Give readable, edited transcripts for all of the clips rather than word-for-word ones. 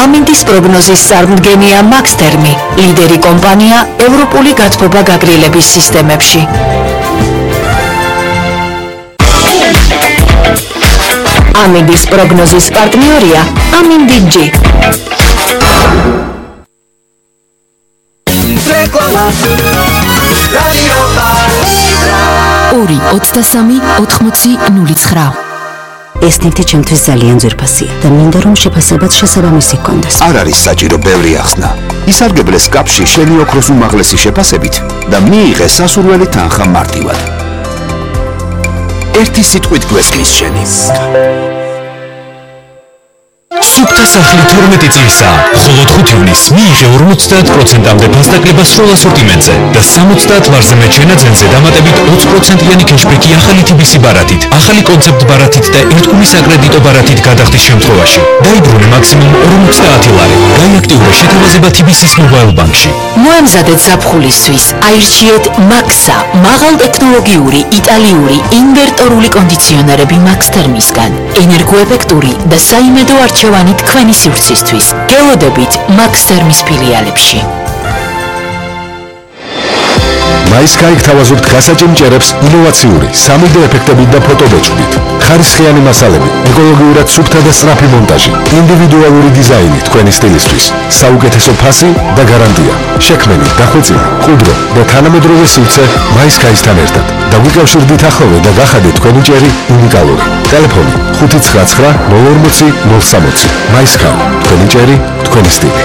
ამინდის პროგნოზის წარმდგენია მაქსთერმი, ლიდერი კომპანია ევროპული გათბობა გაგრილების სისტემებში. ამინდის პროგნოზის პარტნიორია ამინდი-G. ორი 23 80 09. ეს ნივთი ჩემთვის ძალიან ძვირფასია და მინდა რომ შეფასებაც შესაბამისი ჰქონდეს. არ არის საჭირო ბევრი ახსნა. ისარგებლეს კაპში შენი ოქროს უმაღლესი შეფასებით და მიიღეს სასურველი თანხა მარტივად. ერთი სიტყვით გვესმის შენი. სუფთა სახლი 12 წლისაა. მხოლოდ 5 ივნისს მიიღე 50%-მდე ფასდაკლება სრულ ასორტიმენტზე და 70 ლარზე მეჩენაძენზე დამატებით 20%-იანი კეშბექი ახალი TBC ბარათით, ახალი კონცეპტ ბარათით და ერთგული საკრედიტო ბარათით გადახდის შემთხვევაში. დაიბრუნე მაქსიმუმ 50 ლარი. გაიაქტიურე შეთავაზება TBC-ის მობაილ ბანკში. მოემზადეთ ზაფხულისთვის. აირჩიეთ მაქსა, მაღალტექნოლოგიური იტალიური ინვერტორული კონდიციონერები მაქსთერმისგან. ენერგოეფექტური და საიმედო არჩევანი თქვენი სივრცისთვის. გელოდებით მაქსთერმის ფილიალებში. მაისკაი გთავაზობთ გასაჭიმჭერებს ინოვაციური 3D ეფექტებით და ფოტობეჭდით. ხარისხიანი მასალები, ეკოლოგიურად სუფთა და სწრაფი მონტაჟი, ინდივიდუალური დიზაინი თქვენი სტილისთვის, საუკეთესო ფასი და გარანტია. შექმენი, დახვეწილი, მყუდრო და თანამედროვე სივრცე მაისკაისთან ერთად. დაგვიკავშირდით ახლოვე და გახადეთ თქვენი ჭერი უნიკალური. ტელეფონი 599 040 060. მაისკაი, თქვენი ჭერი, თქვენი სტილი.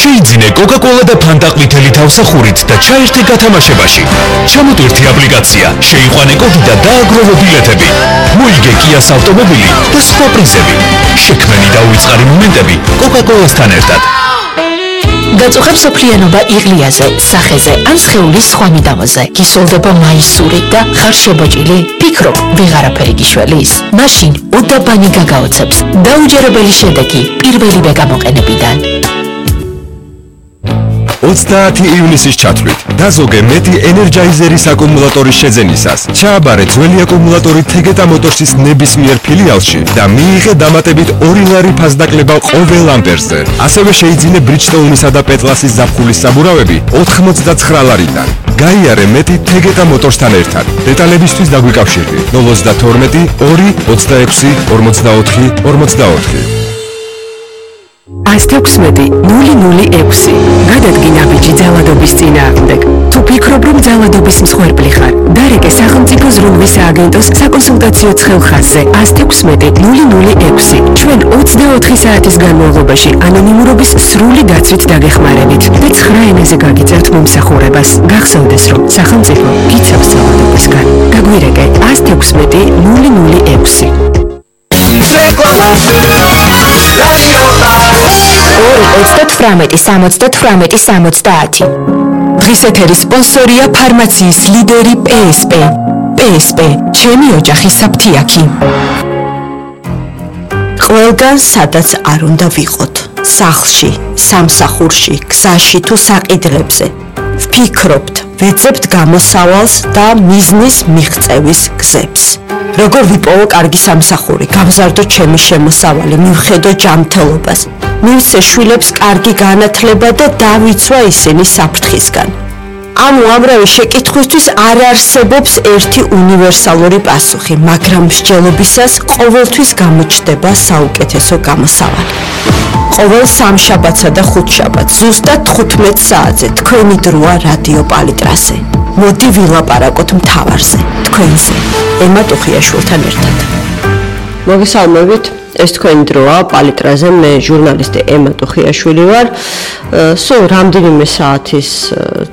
შეიძინე კოკა-კოლა და ფანტა ყვითელი თავსახურით და ჩაერთე გათამაშებაში. ჩამოტვირთი აპლიკაცია, შეიყვანე კოდი და დააგროვო ბილეთები. მოიგე კიას ავტომობილი და სხვა პრიზები. შექმენი და უიწყარი მომენტები კოკა-კოლასთან ერთად. გაწუხებ სოფლიანობა იღლიაზე, სახეზე ან სხეულის სხვა მიდამოზე. გისოლდება მაისური და ხარ შებოჭილი? ფიქრობ, ვეღარაფერი გიშველის? მაშინ უდაბანი გაგაოცებს. დაუჯერებელი შედეგი პირველივე გამოყენებიდან. 30 ივნისის ჩათვლით დაზოგე მეტი ენერჯაიზერის აკუმულატორის შეძენისას. ჩააბარე ძველი აკუმულატორი თეგეტა მოტორსის ნებისმიერ ფილიალში და მიიღე დამატებით 2 ლარი ფასდაკლება ყოველ ამპერზე. ასევე შეიძინე ბრიჯსტოუნისა და პეტლასის ზაფხულის საბურავები 89 ლარიდან. გაიარე მეტი თეგეტა მოტორსთან ერთად. დეტალებისთვის დაგვიკავშირდი 032 2 26 44 44. 116-006 გადადგინა ბიჭი ძალადობის წინააღმდეგ. თუ ფიქრობ, რომ ძალადობის მსხვერპლი ხარ, დარეკე სახელმწიფო ზრუნვის სააგენტოს საკონსულტაციო ცხელხაზზე 116-006. ჩვენ 24 საათის განმავლობაში ანონიმურობის სრული დაცვით დაგეხმარებით და 9 ენაზე გაგიწევთ მომსახურებას. გახსოვდეს, რომ სახელმწიფო გიცავს ძალადობისგან. გაგვირეკე 116-006. 2-38-70. დღის ეთერის სპონსორია ფარმაციის ლიდერი PSP. PSP, ჩემი ოჯახის საფთიაქი. ყველგან სადაც არ უნდა ვიყოთ. სახლში, სამსახურში, გზაში თუ საყიდლებზე. ვფიქრობთ, ვეძებთ გამოსავალს და მიზნის მიღწევის გზებს. როგორ ვიპოვო კარგი სამსახური, გავზარდო ჩემი შემოსავალი, მივხედო ჯანმრთელობას. მივცე შვილებს კარგი განათლება და დავიცვა ისინი საფრთხისგან. ამ უამრავი შეკითხვისთვის არ არსებობს ერთი უნივერსალური პასუხი, მაგრამ მსჯელობისას ყოველთვის გამოჩნდება საუკეთესო გამოსავალი. ყოველ სამშაბათსა და ხუთშაბათს ზუსტად 15 საათზე თქვენი დროა რადიო პალიტრაზე. მოდი ვილაპარაკოთ მთავარზე, თქვენზე, ემა ტუხიაშვილთან ერთად. მოგესალმებით. ეს თქვენი დროა პალიტრაზე, მე ჟურნალისტი ემა ტუხიაშვილი ვარ. სულ რამდენიმე საათის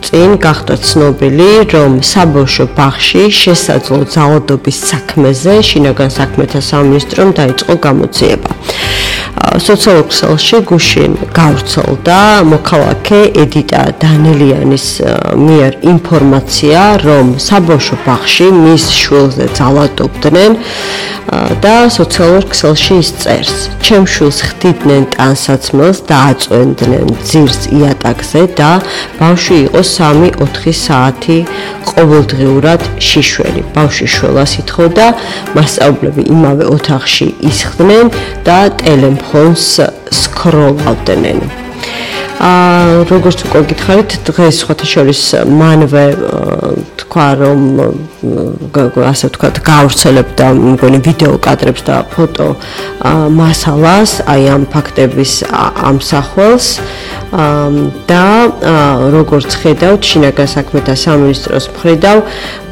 წინ გახდა ცნობილი, რომ საბავშვო ბაღში შესაძლო ძალადობის საქმეზე შინაგან საქმეთა სამინისტრომ დაიწყო გამოძიება. სოციალურ ქსელში გუშინ გავრცელდა მოქალაქე ედიტა დანელიანის მიერ ინფორმაცია, რომ საბავშვო ბაღში მის შვილზე ძალადობდნენ და სოციალურ ქსელში ის წერს: ჩემ შვილს ხდიდნენ ტანსაცმელს და აწვენდნენ ძირს იატაკზე და ბავშვი იყო 3-4 საათი ყოველდღიურად შიშველი. ბავშვი შველას ითხოვდა, მასწავლებლები იმავე ოთახში ისხდნენ და ტელემხოლ ფონს სკროლავდნენ. როგორც უკვე გითხარით, დღეს სხვათა შორის მანვე თქვა რომ ასე ვთქვათ, გაავრცელებდა მგონი ვიდეო კადრებს და ფოტო მასალას, აი ამ ფაქტების ამსახველს და როგორც ხედავთ, შინაგან საქმეთა სამინისტროს მხრიდან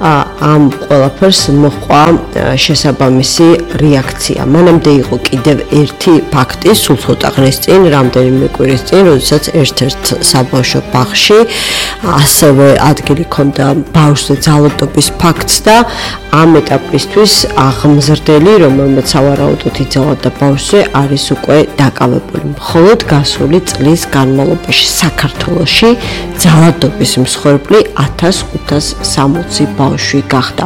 ამ ყველაფერს მოჰყვა შესაბამისი რეაქცია. მანამდე იყო კიდევ ერთი ფაქტი, სულ ცოტა ხნის წინ, რამდენიმე კვირის წინ, როდესაც ერთ-ერთ საბავშვო ბაღში ასევე ადგილი ჰქონდა ბავშვზე ძალადობის ფაქტს და ამ ეტაპისთვის აღმზრდელი, რომელმაც სავარაუდოდ იძალა ბავშვზე, არის უკვე დაკავებული. მხოლოდ გასული წლის განმავლობაში საქართველოში ძალადობის მსხვერპლი 1560 ბავშვი გახდა.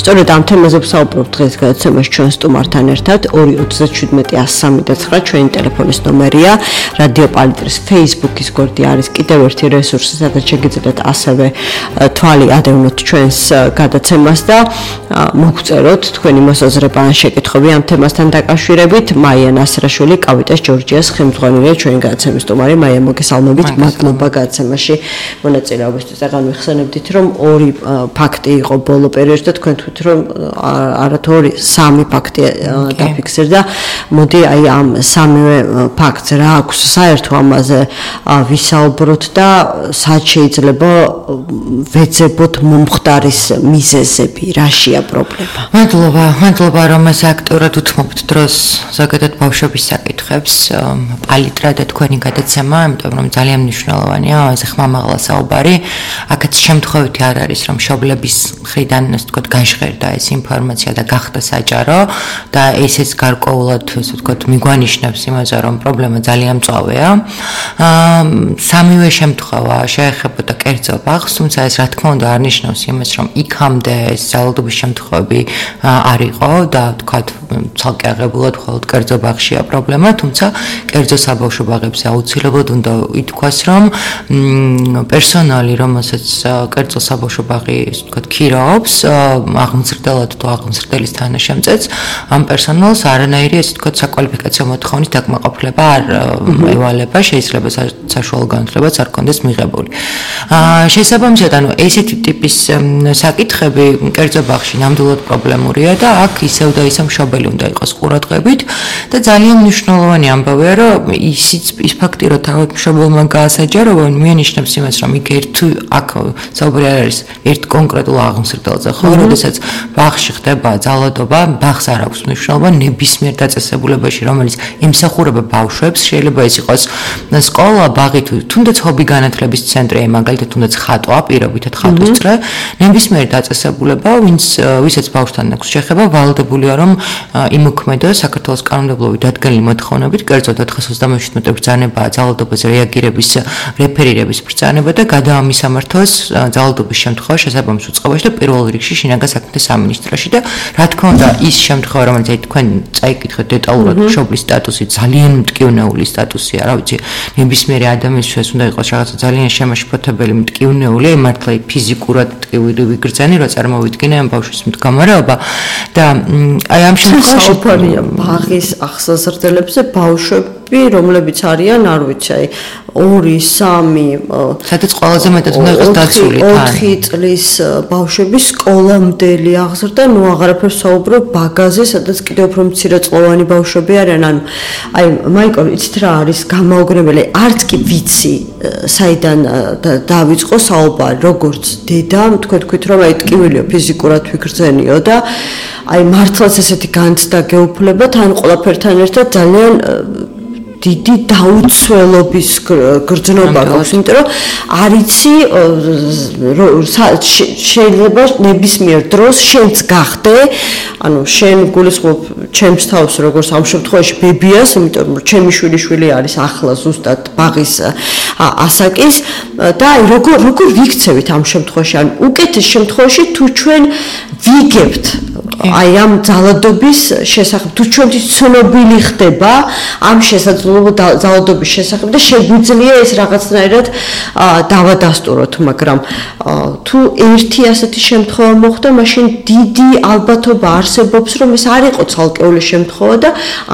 სწორედ ამ თემაზე ვსაუბრობთ დღეს გადაცემაში ჩვენ სტუმართან ერთად 237-103 ჩვენი ტელეფონის ნომერია, რადიო პალიტრის Facebook-ის გვერდი არის კიდევ ერთი რესურსი, სადაც შეგიძლიათ ასევე თვალი ადევნოთ ჩვენს გადაცემას და მოგწეროთ თქვენი მოსაზრება ან შეკითხვები ამ თემასთან დაკავშირებით. მაია ნასრაშვილი, კავიტას ჯორჯიას ხელმძღვანელია ჩვენი გადაცემის სტუმარი. მაია, მოგესალმებით, მადლობა გადაცემაში მონაწილეობისთვის. განვიხსენებდით, რომ ორი ფაქტი იყო ბოლო პერიოდში და თქვენ თქვით, რომ არათუ ორი, სამი ფაქტი დაფიქსირდა. მოდი აი ამ სამივე ფაქტს რა აქვს საერთო ამაზე ვისაუბროთ და სად შეიძლება ვეძებოთ მომხდარის მიზეზები, რაშია პრობლემა. მადლობა რომ ეს აქტიურად უთმობთ დროს ზოგადად ბავშვების საკითხებს, პალიტრა და თქვენი გადაცემა, იმიტომ რომ ძალიან მნიშვნელოვანია, ასე ხმამაღლა საუბარი. აქაც შემთხვევითი არ არის რომ მშობლების მხრიდან ასე ვთქვათ გაჟღერდა ეს ინფორმაცია და გახდა საჯარო და ესეც გარკვეულად ასე ვთქვათ მიგვანიშნებს იმაზე რომ პრობლემა ძალიან მწვავეა. სამივე შემთხვევა შეეხებოდა კერძო ბაღს, თუმცა ეს რა თქმა უნდა არ ნიშნავს იმას რომ იქამდე ეს ძალადობის შემთხვევები არ იყო და ვთქვათ ცალკე აღებულად მხოლოდ კერძო ბაღშია პრობლემა, თუმცა კერძო საბავშვო ბაღებზე აუცილებლად უნდა ითქვას რომ პერსონალი, რომელსაც კერძო საბავშვო ბაღი ვთქვათ ქირაობს, აღმზრდელად თუ აღმზრდელის თანაშემწეც, ამ პერსონალს არანაირი ასე ვთქვათ საკვალიფიკაციო მოთხოვნის დაკმაყოფილება არ ევალება, შეიძლება საშუალო განათლებაც არ კონდეს მიღებული. შესაბამისად, ანუ ესეთი ტიპის საკითხები კერძო ბაღში ნამდვილად პრობლემურია და აქ ისევ და ისევ მშობელი უნდა იყოს ყურადღებით და ძალიან მნიშვნელოვანი ამბავია, რომ ის ფაქტი, რომ თავად მშობელმა გაასაჯაროვა, მიანიშნებს იმას, რომ იქ აქ საუბარი არ არის ერთ კონკრეტულ აღმზრდელზე, ხო, როდესაც ბაღში ხდება ძალადობა, ბაღს არ აქვს მნიშვნელობა ნებისმიერ დაწესებულებაში, რომელიც ემსახურება ბავშვებს, შეიძლება ეს იყოს სკოლა, ბაღი თუ თუნდაც ჰობი განათლების ცენტრი, მაგალითად თუნდაც ხატვა, პირობითად ხატვისწრე, ნებისმიერ დაწესებულება, ვისაც ბავშვთან აქვს შეხება, ვალდებულია რომ იმოქმედოს საქართველოს კანონმდებლობით დადგენილი მოთხოვნებით, კერძოდ 427 ბრძანებაა ძალადობაზე რეაგირების რეფერირების ბრძანება და გადაამისამართოს ძალადობის შემთხვევა შესაბამის უწყებაში და პირველ რიგში შინაგან საქმეთა სამინისტროში და რა თქმა უნდა ის შემთხვევა, რომელიც თქვენ წაიკითხეთ დეტალურად, მშობლის სტატუსი ძალიან მტკივნეული სტატუსია, რა ვიცი, ნებისმიერი ადამიანისთვის უნდა იყოს რაღაცა ძალიან შემაშფოთებელი მტკივნეული, მართლა ფიზიკურად მტკივნეული ვიგრძანი, რომ წარმოვიდგინე ამ ბავშვის მდგომარეობა და აი ამ შემთხვევაში ბაღის აღსაზრდელებზე ბავშვები, რომლებიც არიან, არ ვიცი, აი 2-3 სადაც ყველაზე მეტად უნდა იყოს დაცული თან 4 წლის ბავშვები სკოლამდელი აღზრდა, ნუ აღარაფერს საუბრობ ბაგაზე, სადაც კიდევ უფრო მცირეწლოვანი ბავშვები არიან, ანუ აი მაიკო, იცით რა არის გამაოგნებელი, არც კი ვიცი საიდან დავიწყო საუბარი, როგორც დედა, თქვით რომ აი ტკივილიო ფიზიკურად ვიგრძენიო და აი მართლაც ესეთი განცდა გეუფლებათ, ან ყველაფერთან ერთად ძალიან დიდი დაუცველობის გრძნობა გაქვს, იმიტომ რომ არიცი შეიძლება ნებისმიერ დროს შენც გახდე, ანუ შენ გულისხმობ ჩემს თავს როგორც ამ შემთხვევაში ბებიას, იმიტომ რომ ჩემი შვილი არის ახლა ზუსტად ბაღის ასაკის და აი როგორ ვიქცევით ამ შემთხვევაში, ანუ უკეთეს შემთხვევაში თუ ჩვენ ვიგებთ აი ამ ძალადობის შესახებ თუ ჩვენთვის ცნობილი ხდება ამ შესაძლებლობა ძალადობის შესახებ და შეგვიძლია ეს რაღაცნაირად დავადასტუროთ, მაგრამ თუ ერთი ასეთი შემთხვევა მოხდა, მაშინ დიდი ალბათობა არსებობს, რომ ეს არ იყო ცალკეული შემთხვევა და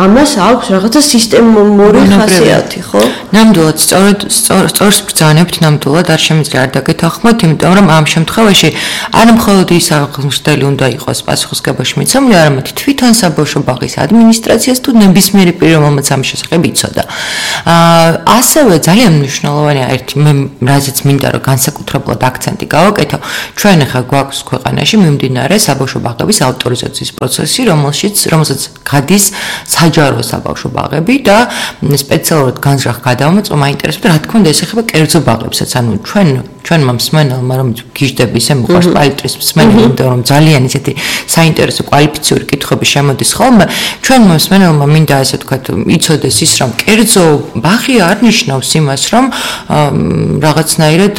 ამას აქვს რაღაცა სისტემური ხასიათი, ხო? ნამდვილად სწორს ბრძანებთ, ნამდვილად არ შემიძლია არ დაგეთანხმოთ, იმიტომ რომ ამ შემთხვევაში არ მხოლოდ ის აღმოჩნდელი უნდა იყოს პასუხისმგებაში მიცემული, არამედ თვითონ საბავშვო ბაღის ადმინისტრაციას თუ ნებისმიერი პირი, რომელმაც ამ შესახებ იცოდა. ასევე ძალიან მნიშვნელოვანია ერთი მე რაზეც მინდა რომ განსაკუთრებულად აქცენტი გავაკეთო, ჩვენ ახლა გვაქვს ქვეყანაში მიმდინარე საბავშვო ბაღების ავტორიზაციის პროცესი, რომელსაც გადის საჯარო საბავშვო ბაღები და სპეციალურად განზრახ გადავამოწმო, მაინტერესებდა რა თქმა უნდა ეს ეხება კერძო ბაღებსაც, ანუ ჩვენმა მსმენელმა რომ გიждები ისე მიყვარს პალიტრის მსმენელი, იმიტომ რომ ძალიან ისეთი საინტერესო კვალიფიციური კითხვები შემოდის ხოლმე, ჩვენმა მსმენელმა მინდა ასე ვთქვათ, იცოდეს ის რომ კერძო ბაღი არ ნიშნავს იმას, რომ რაღაცნაირად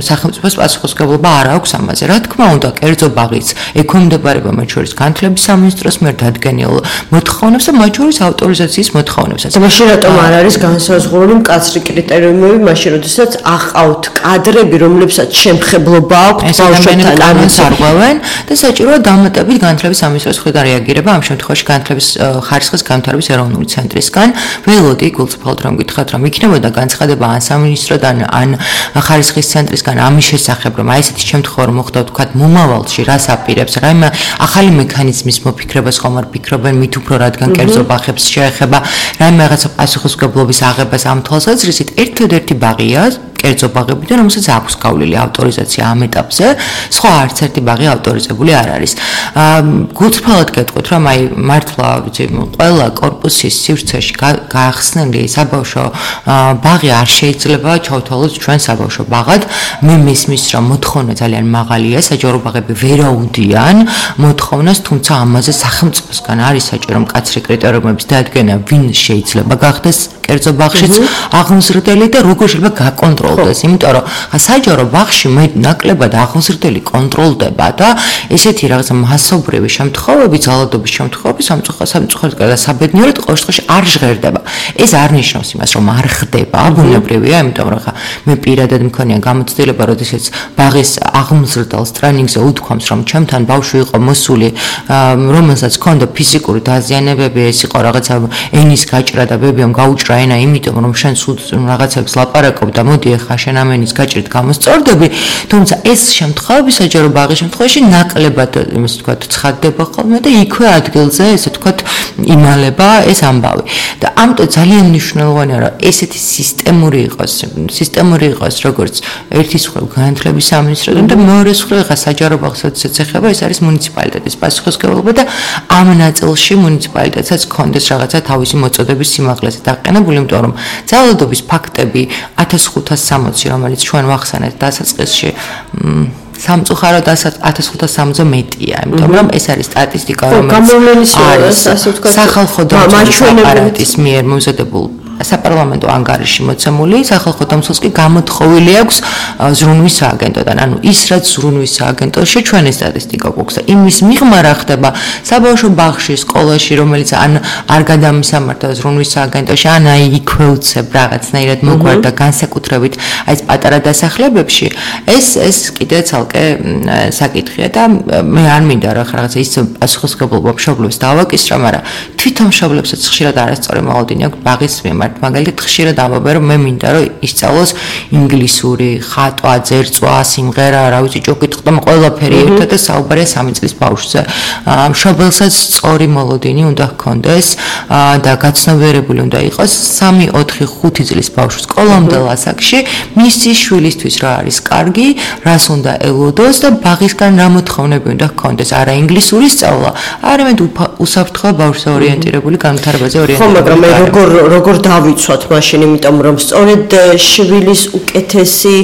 სახელმწიფოს პასუხისმგებლობა არ აქვს ამაზე. რა თქმა უნდა, კერძო ბაღიც ექვემდებარება მათ შორის განათლების სამინისტროს მიერ დადგენილ მოთხოვნებს და მათ შორის ავტორიზაციის მოთხოვნებსაც. მაშინ რატომ არ არის განსაზღვრული მკაცრი კრიტერიუმები, მაშინ როდესაც აყავთ კადრები, რომლებსაც შემხებლობა აქვს ბავშვებთან ამასარღვევენ და საჭიროა დამატებით განათლების სამინისტროს მხრიდან რეაგირება ამ შემთხვევაში განათლების ხარისხის განვითარების ეროვნული ცენტრისგან. ველოდი გულწრფელად რომ გითხრათ, რომ იქნებოდა განცხადება ან სამინისტროდან ან ხარისხის ცენტრისგან ამის შესახებ, რომ აი ესეთი შემთხვევა რომ მოხდა ვთქვათ მომავალში რას აპირებს, რაიმე ახალი მექანიზმის მოფიქრებას ხომ არ ფიქრობენ მით უფრო რადგან კერძო ბაღებს შეეხება, რაიმე რაღაცა პასუხისმგებლობის აღებას ამ თვალსაზრისით ერთადერთი ბაღია კერძო ბაღებიდან, რომელსაც აქვს გავლილი ავტორიზაცია ამ ეტაპზე, სხვა არც ერთი ბაღი ავტორიზებული არ არის. გულწრფელად გეტყვით, რომ აი მართლა ვიცი, ყველა კორპუსის სივრცეში გაახსნილი საბავშვო ბაღი არ შეიძლება ჩავთვალოთ ჩვენ საბავშვო ბაღად. მე მისმის, რომ მოთხოვნა ძალიან მაღალია, საჯარო ბაღები ვერაუდიან მოთხოვნას, თუმცა ამაზე სახელმწიფოსგან არის საჭირო მკაცრი კრიტერიუმების დადგენა, ვინ შეიძლება გახდეს კერძო ბაღშიც აღმზრდელი და როგორ შეიძლება გაკონტროლდეს, იმიტომ რომ საჯარო ბაღში მე ნაკლებად აღმზრდელი კონტროლდება და ესეთი რაღაცა მასობრივი შემთხვევები, ძალადობის შემთხვევები სამწუხაროდ და საბედნიეროდ ყოველ შემთხვევაში არ ჟღერდება. ეს არ ნიშნავს იმას, რომ არ ხდება, ბუნებრივია, იმიტომ რომ ხა მე პირადად მქონია გამოცდილება, როდესაც ბაღის აღმზრდელს ტრენინგზე უთქვამს, რომ ჩემთან ბავშვი იყო მოსული, რომელსაც ჰქონდა ფიზიკური დაზიანებები, ეს იყო რაღაცა ენის გაჭრა და ბებიამ გაუჭრა ენა, იმიტომ რომ შენ სულ რაღაცებს ლაპარაკობ და მოდი ახლა შენ ამ ენის გაჭრით გამოსწორდები, თუმცა ეს შემთხვევები საჯარო ბაღის შემთხვევაში ნაკლებად იმის ვთქვათ ცხადდება ხოლმე და იქვე ადგილზე ესე ვთქვათ იმალება ეს ამბავი. და ამიტომ ძალიან მნიშვნელოვანია რომ ესეთი სისტემური იყოს როგორც ერთის მხრივ განათლების სამინისტროდან და მეორეს მხრივ ხა საჯარო ბაღსაც ეხება, ეს არის მუნიციპალიტეტის პასუხისმგებლობა და ამ ნაწილში მუნიციპალიტეტსაც ჰქონდეს რაღაცა თავისი მოწოდების სიმაღლეზე დაყენებული, იმიტომ რომ ძალადობის ფაქტები 1560, რომელიც ჩვენ ვახსენეთ დასაწყისში, სამწუხაროდ 1560-ზე მეტია, იმიტომ რომ ეს არის სტატისტიკა, რომელიც არის სახალხო დამცველის აპარატის მიერ მომზადებულ საპარლამენტო ანგარიში მოცემული, სახალხო დამცველს კი გამოთხოვილი აქვს ზრუნვის სააგენტოდან. ანუ ის რაც ზრუნვის სააგენტოში ჩვენი სტატისტიკა გვაქვს და იმის მიღმა რა ხდება საბავშვო ბაღში, სკოლაში, რომელიც ან არ გადამისამართა ზრუნვის სააგენტოში, ან აი იქვე უცებ რაღაცნაირად მოგვარდა განსაკუთრებით აი ეს პატარა დასახლებებში, ეს კიდე ცალკე საკითხია და მე არ მინდა რა რაღაცა ის პასუხისმგებლობა მშობლებს დავაკისრა, მაგრამ თვითონ მშობლებსაც ხშირად არასწორი მოლოდინი აქვს ბაღის მიმართ. მაგალითად ხშირად ამბობენ რომ მე მინდა რომ ისწავლოს ინგლისური, ხატვა, ძერწვა, სიმღერა, რა ვიცი, ჭუკითხვა, ყველაფერი ერთად და საუბარია 3 წლის ბავშვზე. მშობელსაც სწორი მოლოდინი უნდა ჰქონდეს და გაცნობიერებული უნდა იყოს 3, 4, 5 წლის ბავშვი სკოლამდელ ასაკში მისი შვილისთვის რა არის კარგი, რას უნდა ელოდოს და ბაღისგან რა მოთხოვნები უნდა ჰქონდეს, არა ინგლისური სწავლა, არამედ უსაფრთხო ბავშვზე ორიენტირებული განვითარებაზე ორიენტირებული. ხო, მაგრამ მე როგორ დავიცვათ მაშინ, იმიტომ რომ სწორედ შვილის უკეთესი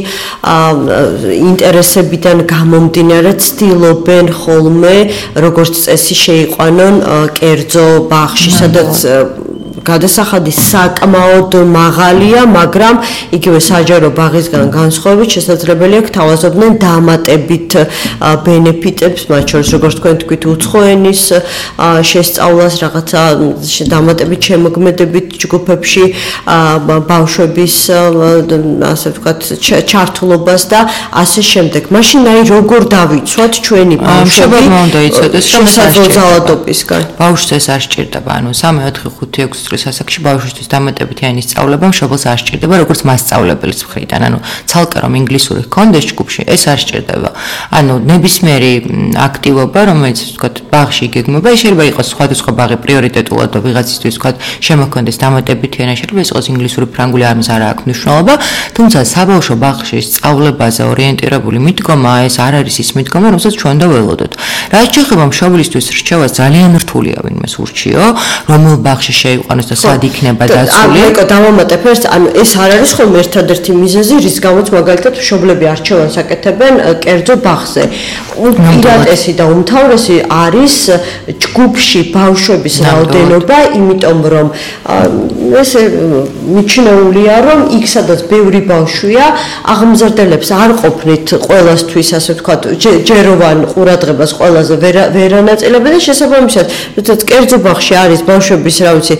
ინტერესებიდან გამომდინარე ცდილობენ ხოლმე როგორც წესი შეიყვანონ კერძო ბაღში, სადაც გადასახადი საკმაოდ მაღალია, მაგრამ იგივე საჯარო ბაღისგან განსხვავებით შესაძლებელია გთავაზობდნენ დამატებით ბენეფიტებს, მათ შორის როგორც თქვენ თქვით, უცხო ენის შესწავლას, რაღაცა დამატებით შემოქმედებით ჯგუფებში ბავშვების ასე ვთქვათ ჩართულობას და ასე შემდეგ. მაშინ აი როგორ დავიცვათ ჩვენი ბავშვები შესაძლებლობისგან? ბავშვს ეს არ სჭირდება, ანუ 3, 4, 5, 6 წლის ასაკში ბავშვისთვის დამატებითი ენის სწავლება მშობელს არ სჭირდება, როგორც მასწავლებლის მხრიდან. ანუ ცალკე რომ ინგლისური ჰქონდეს ჯგუფში, ეს არ სჭირდება. ანუ ნებისმიერი აქტივობა, რომელიც ვთქვათ, ბაღში იგეგმება, შეიძლება იყოს სხვადასხვა ბაღი პრიორიტეტულად და ვიღაცისთვის ვთქვათ, შემოქმედეს დამატებითი ენა, შეიძლება იყოს ინგლისური, ფრანგული, ამას არ აქვს მნიშვნელობა, თუმცა საბავშვო ბაღში სწავლებაზე ორიენტირებული მიდგომა ეს არ არის ის მიდგომა, რომელსაც ჩვენ დაველოდოთ. რაც შეეხება მშობლისთვის რჩევას, ძალიან რთულია ვინმე ურჩიო, რომელ ბაღში შეიყვანოს და სად იქნება დაცული. ანუ დავამატებ ერთ, ანუ ეს არ არის ხოლმე ერთადერთი მიზეზი, რის გამოც მაგალითად მშობლები არჩევანს აკეთებენ კერძო ბაღზე. უპირატესი და უმთავრესი არის ჯგუფში ბავშვების რაოდენობა, იმიტომ რომ ესე მიჩნეულია, რომ იქ სადაც ბევრი ბავშვია, აღმზრდელებს არ ყოფნით ყველასთვის, ასე ვთქვათ, ჯეროვან ყურადღებას ყველაზე ვერ ანაწილებენ და შესაბამისად, როდესაც კერძო ბაღში არის ბავშვების, რა ვიცი,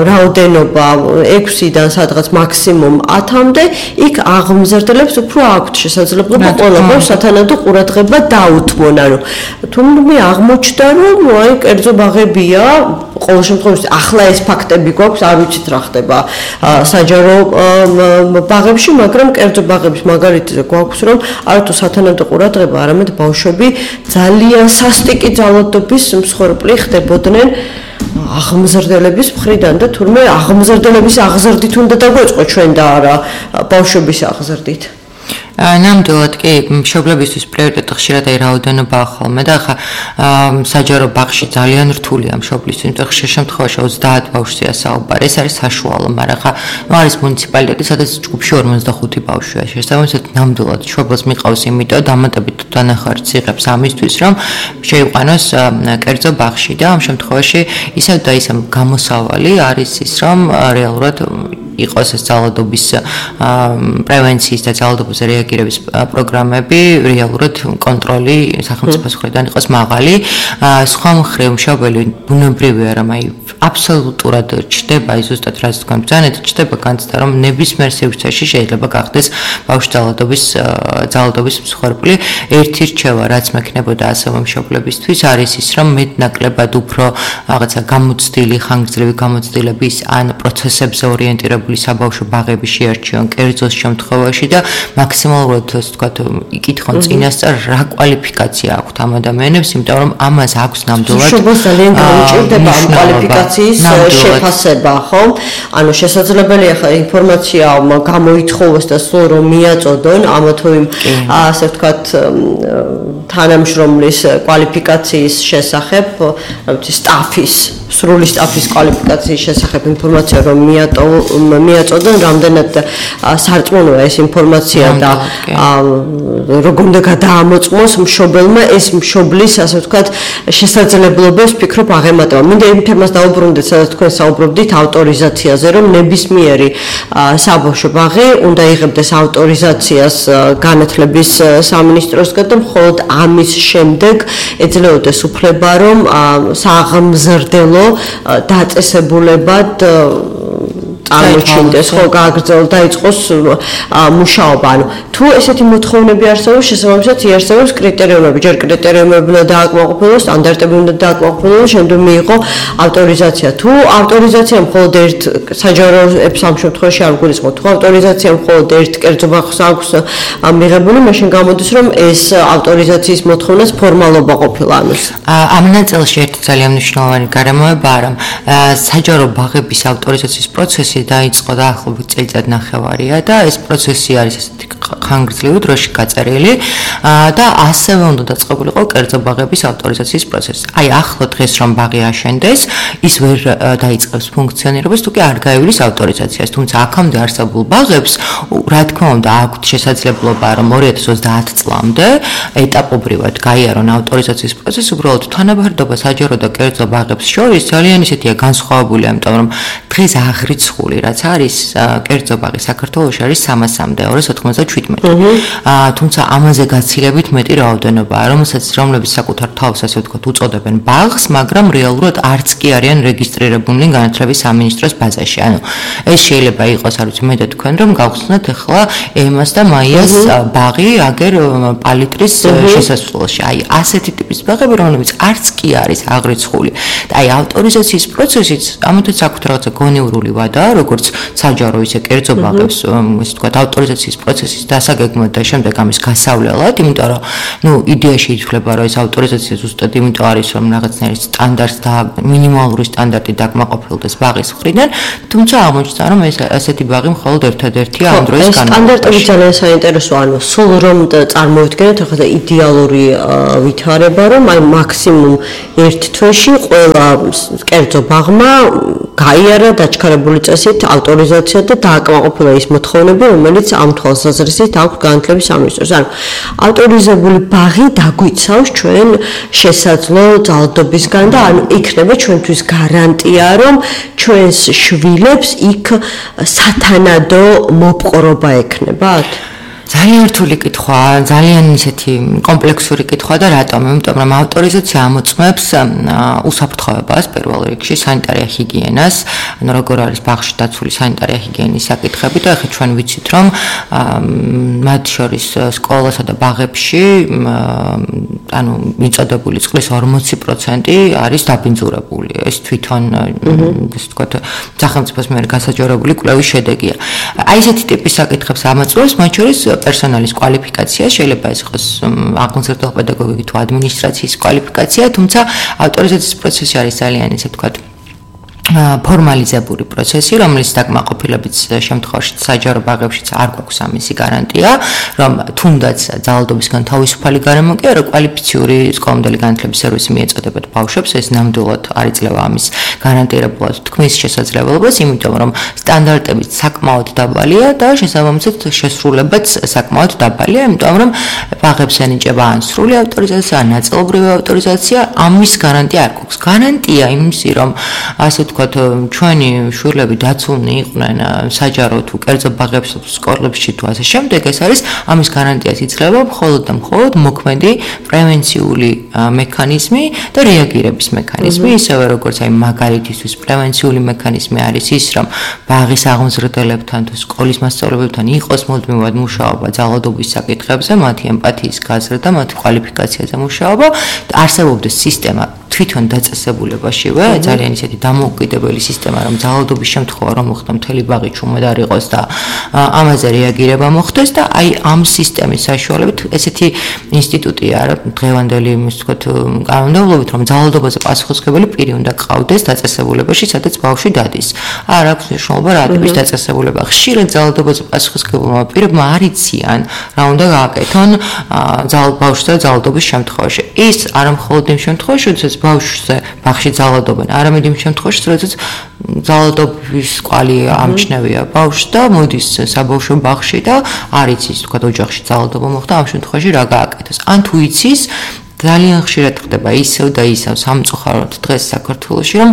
რაოდენობა 6-დან სადღაც მაქსიმუმ 10-მდე, იქ აღმზრდელებს უფრო აქვთ შესაძლებლობა ყველა ბავშვს სათანადო ყურადღება დაუთმონ. ანუ თუმცა აღმოჩნდა, რომ აი კერძო ბაღებია, ყოველ შემთხვევაში ახლა ეს ფაქტები გვაქვს, არ ვიცით რა ხდება საჯარო ბაღებში, მაგრამ კერძო ბაღების მაგალითზე გვაქვს, რომ არათუ სათანადო ყურადღება, არამედ ბავშვები ძალიან სასტიკი ძალადობის მსხვერპლი ხდებოდნენ აღმზრდელების მხრიდან და თურმე აღმზრდელების აღზრდით უნდა დაგვეწყო ჩვენ და არა ბავშვების აღზრდით. ნამდვილად კი მშობლებისთვის პრიორიტეტი ხშირად აი რაოდენობა ხოლმე და ხა საჯარო ბაღში ძალიან რთულია მშობლისთვის, იმიტომ ხშირ შემთხვევაში 30 ბავშვია საუბარი, ეს არის საშუალო, მაგრამ ხა არის მუნიციპალიტეტი, სადაც ჯგუფში 45 ბავშვია. შესაბამისად ნამდვილად მშობელს მიყავს იმიტომ დამატებით დანახარც იღებს ამისთვის, რომ შეიყვანოს კერძო ბაღში და ამ შემთხვევაში ისევ და ისევ გამოსავალი არის ის, რომ რეალურად იყოს ეს ძალადობის პრევენციის და ძალადობაზე რეაგირების პროგრამები, რეალურად კონტროლი სახელმწიფოს მხრიდან იყოს მაღალი. სხვა მხრივ მშობელი ბუნებრივია, რომ აი აბსოლუტურად ჩდება ის ზუსტად რაც თქვენ ბრძანეთ, ჩდება განცდა, რომ ნებისმიერ სივრცეში შეიძლება გახდეს ბავშვ ძალადობის მსხვერპლი. ერთი რჩევა, რაც მექნებოდა ასევე მშობლებისთვის, არის ის, რომ მეტნაკლებად უფრო რაღაცა გამოცდილი, ხანგრძლივი გამოცდილების ან პროცესებზე ორიენტირებული საბავშვო ბაღები შეარჩიონ კერძოს შემთხვევაში და მაქსიმალურად ასე ვთქვათ, იკითხონ წინასწარ რა კვალიფიკაცია აქვთ ამ ადამიანებს, იმიტომ რომ ამას აქვს ნამდვილად მშობელს ძალიან გაუჭირდება ამ კვალიფიკაციის შეფასება, ხო? ანუ შესაძლებელია ხა ინფორმაცია გამოითხოვოს და სულ რომ მიაწოდონ ამა თუ იმ ასე ვთქვათ თანამშრომლის კვალიფიკაციის შესახებ, რა ვიცი, სტაფის სრული სტაფის კვალიფიკაციის შესახებ ინფორმაცია რომ მიაწოდონ, რამდენად სარწმუნოა ეს ინფორმაცია და როგორ უნდა გადაამოწმოს მშობელმა ეს მშობლის, ასე ვთქვათ, შესაძლებლობებს ფიქრობ აღემატება. მინდა იმ თემას დავუბრუნდეთ, სადაც თქვენ საუბრობდით ავტორიზაციაზე, რომ ნებისმიერი საბავშვო ბაღი უნდა იღებდეს ავტორიზაციას განათლების სამინისტროსგან და მხოლოდ ამის შემდეგ ეძლეოდეს უფლება, რომ სააღმზრდელო დაწესებულებად წარმოჩინდეს, ხო, გააგრძელოს და იწყოს მუშაობა. ანუ თუ ესეთი მოთხოვნები არსებობს, შესაბამისად იარსებობს კრიტერიუმები, ჯერ კრიტერიუმები უნდა დააკმაყოფილოს, სტანდარტები უნდა დააკმაყოფილოს, შემდეგ მიიღო ავტორიზაცია. თუ ავტორიზაცია მხოლოდ ერთ საჯარო ამ შემთხვევაში არ გულისხმობ, თუ ავტორიზაცია მხოლოდ ერთ კერძო ბაღს აქვს მიღებული, მაშინ გამოდის, რომ ეს ავტორიზაციის მოთხოვნას ფორმალობა ყოფილა ამის. ამ ნაწილში ერთი ძალიან მნიშვნელოვანი გარემოებაა, რომ საჯარო ბაღების ავტორიზაციის პროცესი დაიწყო დაახლოებით წელიწად ნახევარია და ეს პროცესი არის ესეთი ხანგრძლივი დროში გაწერილი და ასევე უნდა დაწყებულიყო კერძო ბაღების ავტორიზაციის პროცესი. აი ახლა დღეს რომ ბაღი აშენდეს, ის ვერ დაიწყებს ფუნქციონირებას, თუ კი არ გაივლის ავტორიზაციას. თუმცა აქამდე არსებულ ბაღებს, რა თქმა უნდა, აქვთ შესაძლებლობა, რომ 2030 წლამდე ეტაპობრივად გაიარონ ავტორიზაციის პროცესი, უბრალოდ თანაბარდობა საჯარო და კერძო ბაღებს შორის ძალიან ისეთია განსხვავებული, იმიტომ რომ დღეს აღრიცხული რაც არის კერძო ბაღი საქართველოში არის 300-მდე 297. თუმცა ამაზე გაცილებით მეტი რაოდენობაა, რომლებიც საკუთარ თავს ასე ვთქვათ უწოდებენ ბაღს, მაგრამ რეალურად არც კი არიან რეგისტრირებულნი განათლების სამინისტროს ბაზაში. ანუ ეს შეიძლება იყოს, არ ვიცი, მე და თქვენ რომ გავხსნათ ახლა ემას და მაიას ბაღი აგერ პალიტრის შესასვლელში. აი ასეთი ტიპის ბაღები, რომლებიც არც კი არის აღრიცხული. და აი ავტორიზაციის პროცესიც ამათაც აქვს რაღაცა გონივრული ვადა, როგორც საჯარო ისე კერძო ბაღებს, ესე ვთქვათ, ავტორიზაციის პროცესის დასაგეგმად და შემდეგ ამის გასავლელად, იმიტომ რომ ნუ იდეაში ითვლება, რომ ეს ავტორიზაცია ზუსტად იმიტომ არის, რომ რაღაცნაირი სტანდარტს და მინიმალური სტანდარტი დაკმაყოფილდეს ბაღის მხრიდან, თუმცა აღმოჩნდა, რომ ეს ასეთი ბაღი მხოლოდ ერთადერთია ამ დროის განმავლობაში. სტანდარტები ძალიან საინტერესოა, ანუ სულ რომ წარმოვიდგინოთ ახლა იდეალური ვითარება, რომ აი მაქსიმუმ ერთ თვეში ყველა კერძო ბაღმა გაიარა დაჩქარებული წესით ავტორიზაცია და დააკმაყოფილა ის მოთხოვნები, რომელიც ამ თვალსაზრისით აქვს განათლების სამინისტროს. ანუ ავტორიზებული ბაღი დაგვიცავს ჩვენ შესაძლო ძალადობისგან და ანუ იქნება ჩვენთვის გარანტია, რომ ჩვენს შვილებს იქ სათანადო მოპყრობა ექნებათ? ძალიან რთული კითხვაა, ძალიან ისეთი კომპლექსური კითხვა და რატომ? იმიტომ რომ ავტორიზაცია ამოწმებს უსაფრთხოებას პირველ რიგში, სანიტარია ჰიგიენას, ანუ როგორ არის ბაღში დაცული სანიტარია ჰიგიენის საკითხები და ახლა ჩვენ ვიცით რომ მათ შორის სკოლასა და ბაღებში ანუ მიწოდებული წყლის 40% არის დაბინძურებული. ეს თვითონ ესე ვთქვათ, სახელმწიფოს მიერ გასაჯაროებული კვლევის შედეგია. აი ესეთი ტიპის საკითხებს ამოწმებს, მათ შორის პერსონალის კვალიფიკაცია, შეიძლება ეს იყოს აღმზრდელ პედაგოგიკი თუ ადმინისტრაციის კვალიფიკაცია, თუმცა ავტორიზაციის პროცესი არის ძალიან ესე ვთქვათ ფორმალიზებული პროცესი, რომელიც დაკმაყოფილებით შემთხვევაში საჯარო ბაღებშიც არ გვაქვს ამისი გარანტია, რომ თუნდაც ძალადობისგან თავისუფალი გარემო კი არა, კვალიფიციური სკოლამდელი განათლების სერვისი მიეწოდებათ ბავშვებს, ეს ნამდვილად არ იძლევა ამის გარანტირებულად თქმის შესაძლებლობას, იმიტომ რომ სტანდარტები საკმაოდ დაბალია და შესაბამისად შესრულებაც საკმაოდ დაბალია, იმიტომ რომ ბაღებს ენიჭება ან სრული ავტორიზაცია, ან ნაწილობრივი ავტორიზაცია, ამის გარანტია არ გვაქვს. გარანტია იმისი, რომ ასე ჩვენი შვილები დაცულნი იყვნენ საჯარო თუ კერძო ბაღებში თუ სკოლებში თუ ასე შემდეგ, ეს არის ამის გარანტიას იძლევა მხოლოდ და მხოლოდ მოქმედი პრევენციული მექანიზმი და რეაგირების მექანიზმი, ისევე როგორც აი მაგალითისთვის პრევენციული მექანიზმი არის ის, რომ ბაღის აღმზრდელებთან თუ სკოლის მასწავლებლებთან იყოს მუდმივად მუშაობა ძალადობის საკითხებზე, მათი ემპათიის გაზრდა, მათი კვალიფიკაციაზე მუშაობა, არსებობდეს სისტემა თვითონ დაწესებულებაშივე, ძალიან ისეთი დამოუკიდებელი სისტემა, რომ ძალადობის შემთხვევა რომ მოხდა მთელი ბაღი ჩუმად არ იყოს და ამაზე რეაგირება მოხდეს და აი ამ სისტემის საშუალებით ესეთი ინსტიტუტია დღევანდელი იმის ვთქვათ კანონმდებლობით, რომ ძალადობაზე პასუხისმგებელი პირი უნდა ყავდეს დაწესებულებაში, სადაც ბავშვი დადის. არ აქვს მნიშვნელობა რა ტიპის დაწესებულება. ხშირად ძალადობაზე პასუხისმგებელმა პირებმა არ იციან რა უნდა გააკეთონ ბავშვზე ძალადობის შემთხვევაში. ის არა მხოლოდ იმ შემთხვევაში, როდესაც ბავშვზე ძალადობენ, არამედ იმ შემთხვევაში, როდესაც ძალადობის კვალი ამჩნევია ბავშვს და მოდის საბავშვო ბაღში და არ იცის, თქვა ოჯახში ძალადობა მოხდა, ამ შემთხვევაში რა გააკეთოს. ან თუ იცის, ძალიან ხშირად ხდება ისევ და ისევ სამწუხაროდ დღეს საქართველოში, რომ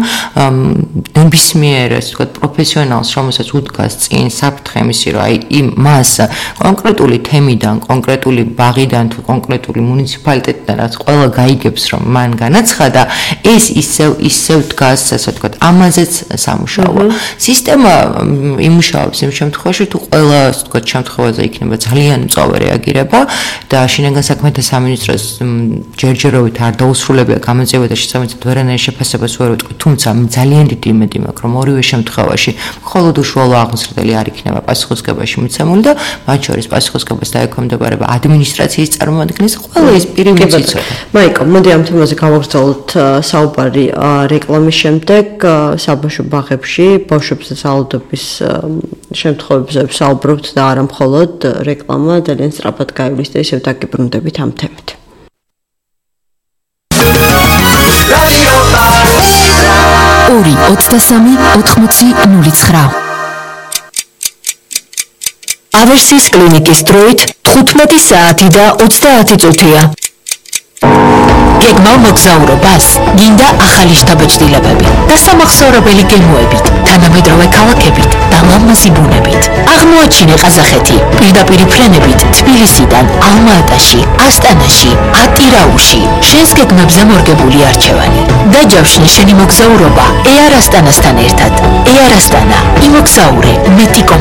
ნებისმიერ ასე ვთქვათ პროფესიონალს, რომელსაც უდგას წინ საფრთხე მისი, რომ აი მას კონკრეტული თემიდან, კონკრეტული ბაღიდან თუ კონკრეტული მუნიციპალიტეტიდან რაც ყველა გაიგებს, რომ მან განაცხადა, ეს ისევ დგას ასე ვთქვათ ამაზეც სამუშაოა. სისტემა იმუშავებს იმ შემთხვევაში, თუ ყველა ასე ვთქვათ შემთხვევაზე იქნება ძალიან მწვავე რეაგირება და შინაგან საქმეთა სამინისტროს ჯერჯერობით არ დაუსრულებია გამოძიება და შესაბამისად ვერანაირ შეფასებას ვერ უტყვი, თუმცა ძალიან დიდი იმედი მაქვს, რომ ორივე შემთხვევაში მხოლოდ უშუალო აღმზრდელი არ იქნება პასუხისმგებაში მიცემული და მათ შორის პასუხისმგებას დაექვემდებარება ადმინისტრაციის წარმომადგენლის ყველა ის პირი, ვინც იცოდა. მაიკო, მოდი ამ თემაზე გავაგრძელოთ საუბარი რეკლამის შემდეგ. საბავშვო ბაღებში ბავშვებზე ძალადობის შემთხვევებზე საუბრობთ და არა მხოლოდ რეკლამა ძალიან სწრაფად გაივლის და ისევ დაგიბრუნდებით ამ თემით. 2-23-80-09. ავერსის კლინიკის დროით 15 საათი და 30 წუთია. გეგმით ღრმავ მოგზაურობას გინდა ახალი შთაბეჭდილებები და სამახსოვრებელი გემოებით, თანამედროვე ქალაქებით და ლამაზი ბუნებით. აღმოაჩინე ყაზახეთი პირდაპირი ფრენებით თბილისიდან ალმა-ატაში, ასტანაში, ატირაუში, შენს გეგმებზე მორგებული არჩევანი. დაჯავშნე შენი მოგზაურობა Air Astana-სთან ერთად. Air Astana, იმოგზაურე მეტი